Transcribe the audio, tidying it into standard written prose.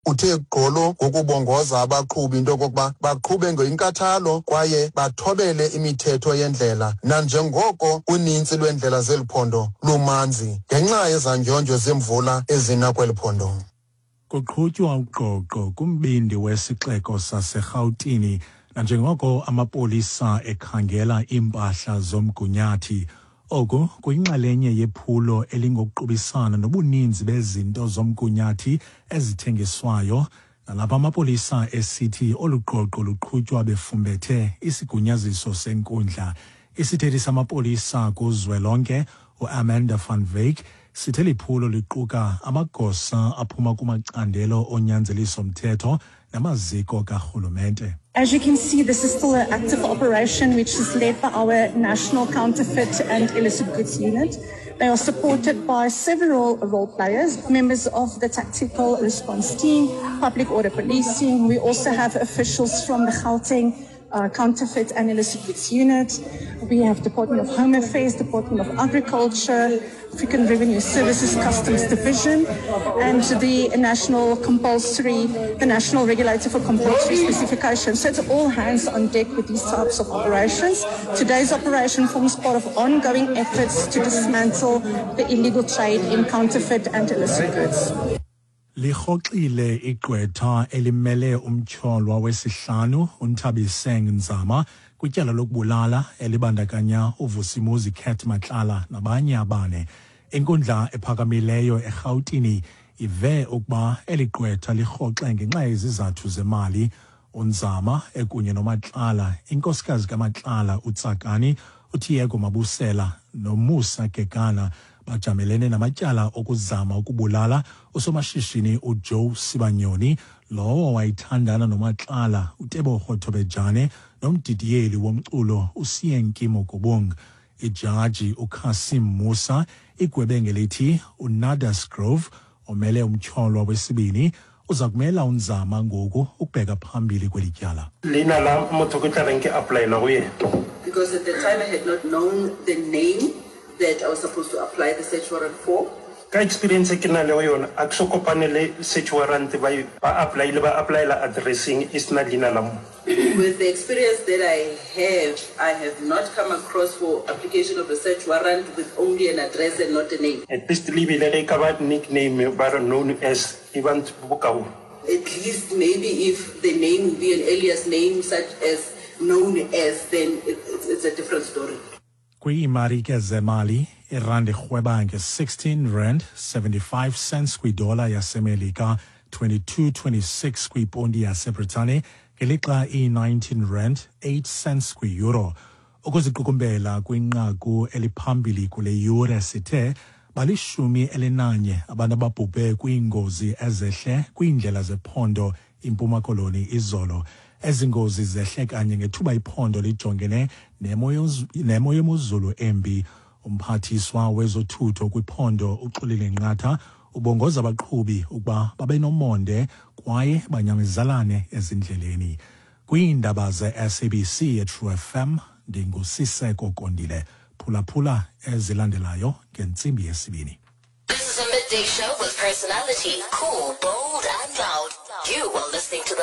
Uthe gqolo ngokubongoza abaqhubi into yokokuba baqhube ngenkathalo kwaye bathobele imithetho yendlela nanjengoko unintsi lweendlela zeli phondo lumanzi ngenxa yezandyondyo zemvula ezina kweli phondo. Kuqhutywa ugqogqo kumbindi wesixeko saseRhawutini nanjengoko amapolisa ekhangela iimpahla zomgunyathi. Oku kuyinxalenye yephulo elingokuqubisana nobuninzi bezinto zomgunyathi ezithengiswayo nalapho amapolisa esithi olu gqogqo luqhutywa befumbethe isigunyaziso senkundla. Isithethi samapolisa kuzwelonke uAmanda van Wyk sithe liphulo liquka amagosa aphuma kumacandelo onyanzeliso-mthetho namaziko karhulumente. As you can see, this is still an active operation which is led by our National Counterfeit and Illicit Goods Unit. They are supported by several role players, members of the Tactical Response Team, Public Order Policing. We also have officials from the Gauteng Counterfeit and Illicit Goods Unit. We have Department of Home Affairs, Department of Agriculture, African Revenue Services Customs Division, and the National Compulsory, the National Regulator for Compulsory Specification. So it's all hands on deck with these types of operations. Today's operation forms part of ongoing efforts to dismantle the illegal trade in counterfeit and illicit goods. Lirhoxile igqwetha elimele umtyholwa wesihlanu uNthabiseng Nzama kwityala lokubulala elibandakanya uVusimuzi Cat Matlala nabanye abane. Inkundla ephakamileyo eRhawutini ive ukuba eli gqwetha lirhoxe ngenxa yezizathu zemali. UNzama ekunye noMatlala, inkosikazi kaMatlala uTsakani, uTiego Mabusela noMusa Kekana bajamelene namatyala okuzama ukubulala usomashishini uJoe Sibanyoni lowo wayithandana noMatlala uTebogo Thobejane nomdidiyeli womculo uSienki Mokobong. Ijaji uCassim Musa igwebe ngelithi uNadas Grove omele umtyholwa wesibini uza kumela uNzama ngoku ukubheka phambili kweli tyala. Leina la motho ke tla reng ke applyela go yena. Because at the time I had not known the name that I was supposed to apply the search warrant for. Ka experience e ke na lego yona, a ke so kopane le search warrant ba ba applyile ba applyela addresseng e sena leina la motho. With the experience that I have, I have not come across for application of a search warrant with only an address and not a name. At least le bile ge e ka ba nickname ba re known as e ba ntho bokaone. At least maybe if the name would be an alias name such as known as then it's a different story. Kwiimarike zemali, irandi irhweba nge-16 rand 75 cents kwidola yaseMelika, 22.26 kwiponti yaseBritane, ngelixa iyi-19 rand 8 cents kwiyuro. Ukuziqukumbela kwinqaku eliphambili kule yure sithe balishumi elinanye abantu ababhubhe kwiingozi ezehle kwiindlela zephondo iMpuma Koloni izolo. Ezi ngozi zehle kanye ngethuba iphondo lijongene nemo yemozulu embi. Umphathiswa wezothutho kwiphondo uXolile Nqatha ubongoza abaqhubi ukuba babe nomonde kwaye banyamezalane ezindleleni. Kwiindaba ze-SABC eTrue FM ndinguSiseko Kondile. Phulaphula ezilandelayo ngentsimbi yesibini. This is a midday show with personality, cool, bold, and loud. You are listening to the